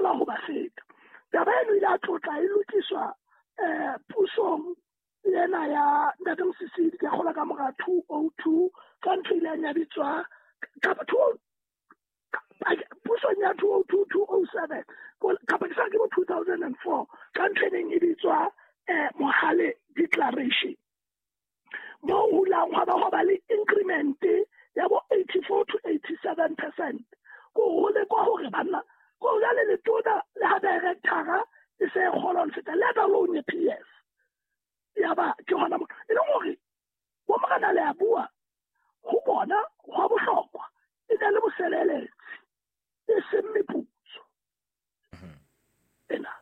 kgola ho ba feta. Taba eno ile a tlotla e lokiswa pusong ena ya Ntate Mosisili, ke kgola ka mora 2002, ka ntho ile ya bitswa kapa pusong ya 2002 2007 kapa ke sa ke bo 2004, ka ntho e neng e bitswa Mohale Declaration, mo hulang hwa ba hwa ba le increment ya bo 84 to 87%. Ko ho le kwa hore banna ko jwale letona le ha director e se kgola ho feta let alone PS. Ya ba ke hona mo e leng hore bo morena le a bua ho bona hwa bohlokwa e ne le bosebeletsi e seng meputso. Ena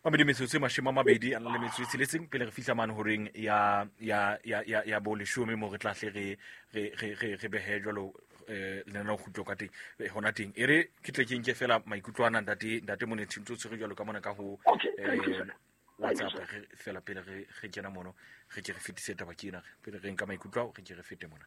Mamedi metsotso e 26 pele re fihla mane horeng ya bo leshome mo re tla hle re behe jwalo lenaneo kgutlo ka teng hona teng. E re ke tle ke nke fela maikutlo ana ntate Monethi ntse o tshwere jwalo ka mona ka ho WhatsApp re fela pele re kena mono re ke re fetise taba ke ena pele re nka maikutlo ao re ke re fete mona.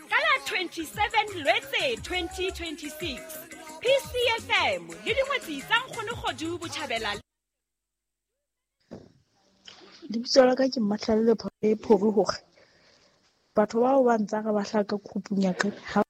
Ka la 27 Lwetse 2026, PCFM le dingwetsi tsa Nkgono Kgodu Botjhabela. Lebitso la ka ke Mmatlhalele Phori hore batho bao ba ntsa re ba hlaka khupung ya ka ha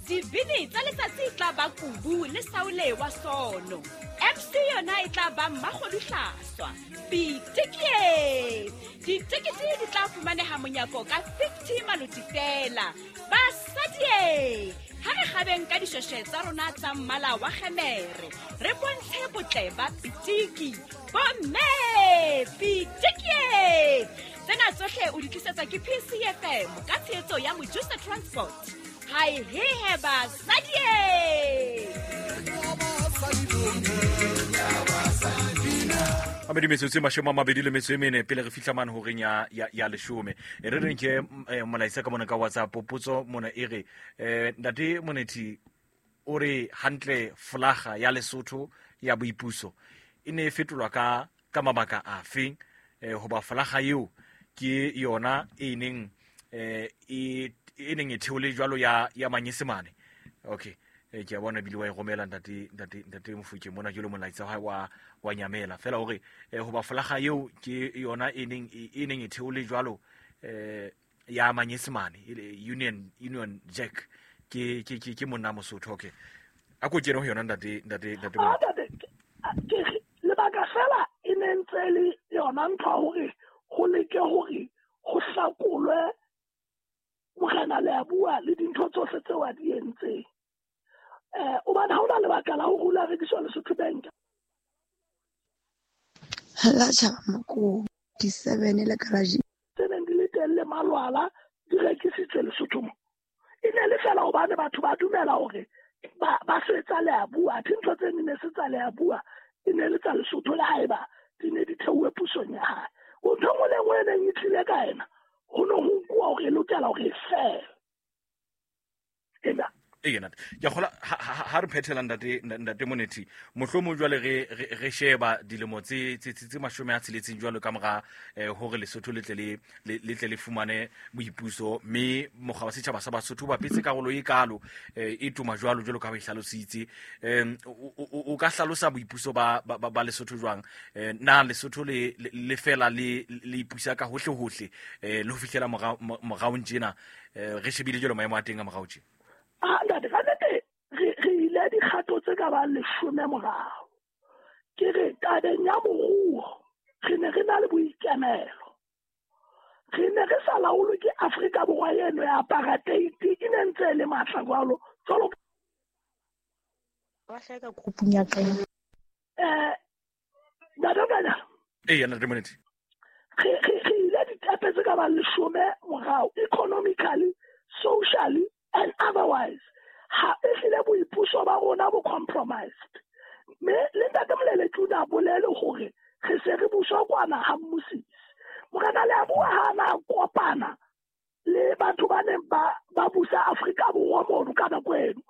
dibini tsa letsatsi e tla ba Kubu le Saule wa Sono. MC yona e tla ba Mmakgodu Hlaswa. Pitikie! Ditekete di tla fumaneha monyako ka 50 maloti fela. Basadie! Ha re kgabeng ka dishweshwe tsa rona tsa mmala wa kgemere, re bontshe botle ba pitiki. Bomme! Pitikie! Tsena tsohle o di tlisetswa ke PCFM ka tshehetso ya Mojusa Transport. Hai he he basadie! Mamedi metsotso e 24 pele re fihla mane horeng ya leshome. E re reng ke molaetsa ka mona ka WhatsApp potso mona e re Ntate Monethi o re hantle folaga ya Lesotho ya boipuso e ne e fetolwa ka mabaka afe, hoba folaga eo ke yona e neng e neng e theole jwalo ya Manyesemane. Okay, ke a bona ebile wa e romela ntate Mofokeng mona ke lo molaetsa wa nyamela fela hore hoba folaga eo ke yona e neng e theole jwalo ya Manyesemane, Union Jack ke monna Mosotho. Okay, a ko kene ho yona ntate ke lebaka fela e ne ntse le yona ntho hore ho leke hore ho hlakolwe morena le a bua le dintho tsohle tseo a di entseng. Hobane ha hona lebaka la ho rula rekiswa Lesotho Bank. La tjhaba mako di7 le garage tse neng di le teng le malwala di rekisitswe Lesotho mo. E ne le fela hobane batho ba dumela hore ba setsa le a bua, ntho tse ne se tsa le a bua e ne le tsa Lesotho le haeba di ne di theuwe pusong ya hae. O ntho nngwe le nngwe e neng e tlile ka ena ho no ho nkuwa hore e lokela hore e fele. Ena ena ke kgola ha re phethela ntate Monethi mohlomong jwale re sheba dilemo tse 60 jwalo ka mora hore Lesotho le tle le fumane boipuso, mme mokga wa setjhaba sa Basotho ba petse karolo e kalo e tuma jwalo jwalo ka ho e hlalositse. O ka hlalosa boipuso ba Lesotho jwang? Na Lesotho le fela le ipusa ka hohle hohle le ho fihlela moraong tjena, re shebile jwalo maemo a teng a morao tjena? Ntate, ka nnete re ile dikgato tse ka bang 10 morao. Ke re tabeng ya moruo re ne re na le boikemelo. Re ne re sa laolwe ke Afrika Borwa eno ya apartheid e ne ntse e le matla jwalo. Jwalo ba hleka khupung ya ka. Ntate Kanya. Ee, Ntate Monethi. Re ile ditepe tse ka bang 10 morao economically, socially and otherwise. Ha e hlile boipuso ba rona bo compromised. Mme le Ntate Moleleki o ne a bolele hore re se re buswa kwana ha mmusisi. Morena le a bua ha na kopana le batho ba neng ba busa Afrika Borwa mono ka nako eno.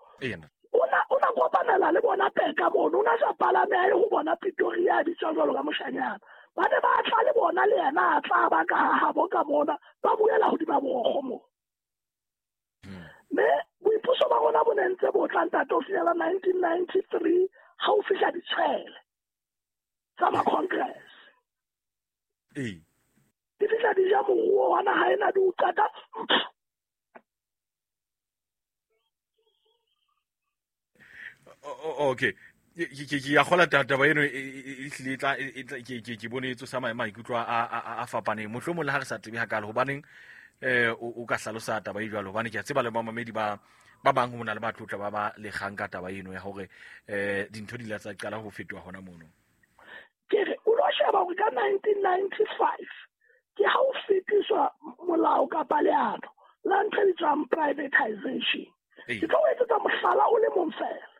O na kopanela le bona Peka mono, o na sa palame a ye ho bona Pretoria a bitswa jwalo ka moshanyana. Ba ne ba tla le bona le yena a tla ba ka habo ka bona ba buela hodima borokgo moo. Mme boipuso ba rona bo ne ntse bo tla ntate ho fihlela 1993 ha o fihla ditshwele tsa ma-congress. Ee. Di fihla di ja moruo wa naha ena di o qeta. Okay. Ke ya kgola taba eno e hlile tla ke bone e tsosa maikutlo a fapaneng. Mohlomong le ha re sa tsebe hakalo hobaneng o ka hlalosa taba e jwalo, hobane ke a tseba le bamamedi ba bang ho na le ba tlotla ba ba lekgang ka taba eno ya hore dintho di la tsa qala ho fetoha hona mono. Ke re o lo sheba hore ka 1995 ke ha o fetiswa molao kapa leano la ntho e bitswang privatization. Ke tlo o etsetsa mohlala o le mong fela.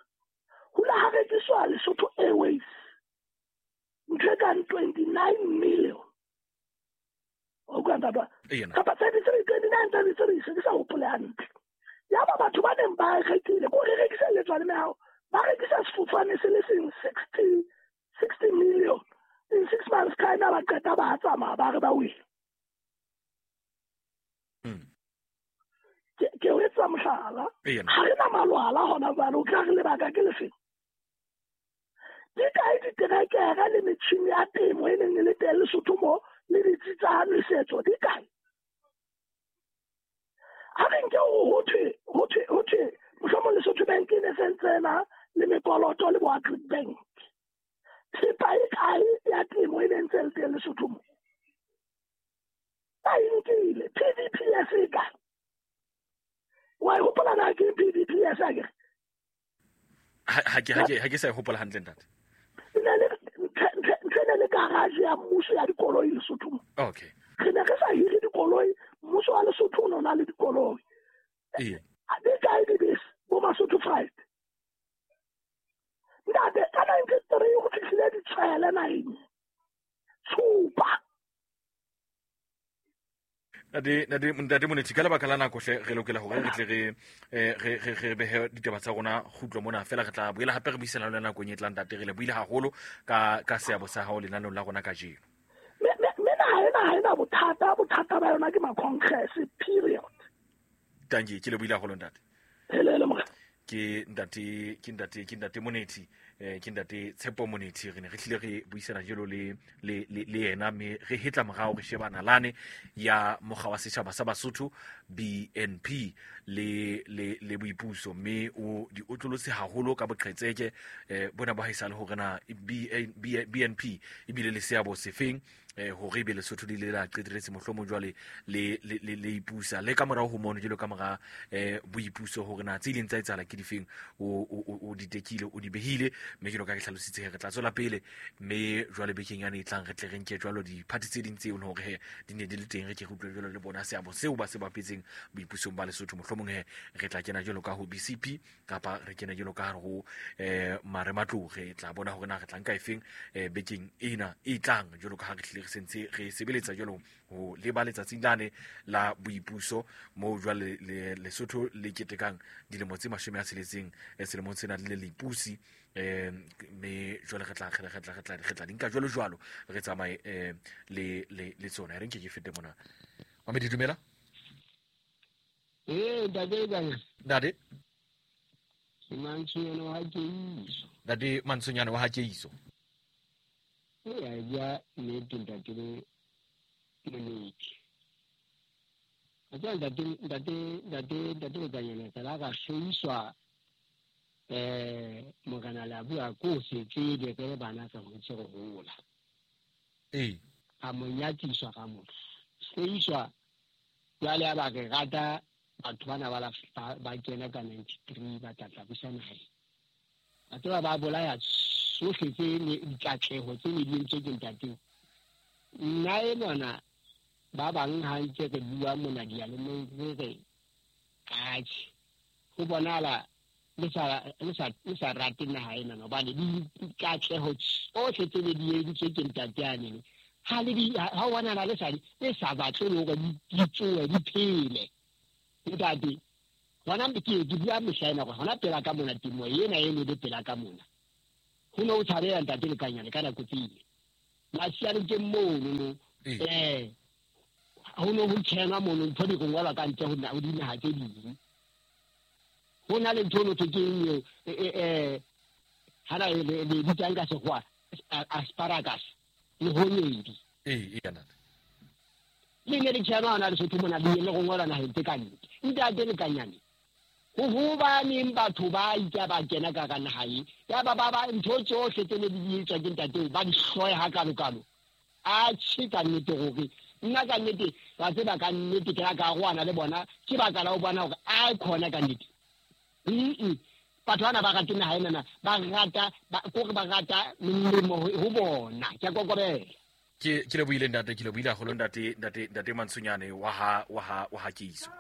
Ho la ha rekiswa Lesotho Airways ntho e kang 29 million. O utlwa ntate? Kapa 33, 29, 33, se ke sa hopole hantle. Yaba batho ba neng ba rekile, ko re rekiselletswa le mehao, ba rekisa sefofane se le seng 60 million. In 6 months time ba qeta ba tsamaya ba re ba wile. Ke o etsa mohlala. Ha re na malwala hona jwale, o tla re lebaka ke lefeng? Di kae diterekere le metjhini ya temo e neng e le teng Lesotho mo le ditsi tsa nwesetso di kae? Ha re nke ho thwe mohlomong Lesotho Bank e ne sentse ena le mekoloto le bo Agric Bank. Thepa e kae ya temo e neng ntse le teng Lesotho mo? Ba e nkile. PVPS e kae? Wa e hopola na ke PVPS akere? Ha ke sa e hopola hantle ntate. Ntho e ne le garage ya mmuso ya dikoloi Lesotho mo. Okay. Re ne re sa hire dikoloi, mmuso wa Lesotho o ne o na le dikoloi. Ee. Di kae dibese bo Masotho Freight? Ntate, ka 93 go fihlile ditshwele naheng. Tshupa. Ntate Monethi, ka lebaka la nako hle re lokela hore re tle re behe ditaba tsa rona kgutlo mona fela. Re tla boela hape re buisana le nakong e tlang ntate. Re lebohile haholo ka seabo sa hao lenaneong la rona kajeno. Mme naha ena ha ena bothata, bothata ba yona ke ma-congress period. Tanki, ke lebohile haholo ntate. Helele morena. Ke ntate Monethi, ke ntate Tshepo Monethi. Re ne re hlile re buisana jalo le yena, mme re hetla morao re sheba nalane ya mokga wa setjhaba sa Basotho BNP le boipuso, mme o di otlolotse haholo ka boqhetseke bona ba haesale hore na BNP ebile le seabo sefeng hore ebe Lesotho le ile la qeteletse mohlomong jwale le ipusa le ka morao ho mono jwalo ka mora boipuso, hore na tse ileng tsa etsahala ke difeng, o di tekile, o di behile. Mme jwalo ka ke hlalositse re tla tswela pele, mme jwale bekeng yane e tlang re tle re nke jwalo diphathi tse ding tseo hore he di ne di le teng, re ke re utlwe jwalo le bona seabo seo ba se bapetseng boipusong ba Lesotho. Mohlomong he re tla kena jwalo ka ho BCP kapa re kena jwalo ka ho Marematlou. Re tla bona hore na re tla nka efeng bekeng ena e tlang, jwalo ka ha re hlile re sentse re sebeletsa jwalo ho leba letsatsing lane la boipuso moo jwale Lesotho le ketekang dilemo tse 60 selemong sena le leipusi. Mme jwale re tla di nka jwalo jwalo re tsamaye le tsona. Re nke ke fete mona. Mamedi, dumela. Ntate. Ntate Mantshonyane wa Keiso. Ntate Mantshonyane wa Keiso. Ee, bua nnete ntate Monethi. A tseba ntate Lekanyana tsela ka hloiswa morena la bua ko se tsebe re bana sa hotse re hola. Ee. A mo nyakiswa ka motho. Hloiswa jwale a ba re rata batho bana ba kena ka 93 ba tla busa naheng. Batho ba bolaya sohle tse dikatleho tse ne di entswe ke ntate. Nna e bona ba bang ha ntse re bua mona diyalemoyeng re re atjhe, ho bonahala le sa rate naha ena, hobane dikatleho tsohle tse ne di entswe ke ntate yane ha o bonahala le sa batle le hore di tsohe di phele. Ntate, hona ke bua mehla ena hore hona pela ka mona temo ena e ne le pela ka mona. Ho ne ho tshabeha ntate Lekanyane ka nako tsele. Masianokeng mono mo ho ne ho kenwa mono, ntho di rongwelwa ka ntle ho dinaha tse ding. Ho na le ntho no thwe ke eng eo, hana le bitsang ka sekgowa asparagus le honyedi. Ee, ntate. Le ne le kenwa hona Lesotho mona, le le rongwelwa naheng tse ka ntle. Ntate Lekanyane, ho hobaneng batho ba itse ba kena ka hara naha e, ya ba ba ntho tsohle tse ne di etswa ke ntate ba di hloya hakalo-kalo. Atjhe, ka nnete hore nna ka nnete wa tseba ka nnete ke la ka arohana le bona, ke baka la ho bona hore a khona ka nnete. Batho bana ba rate naha enana, ba rata kore ba rata melemo ho bona. Ke a kokobela. Ke lebohile ntate, ke lebohile haholo ntate, ntate, ntate Mantsonyane wa ha Keiso.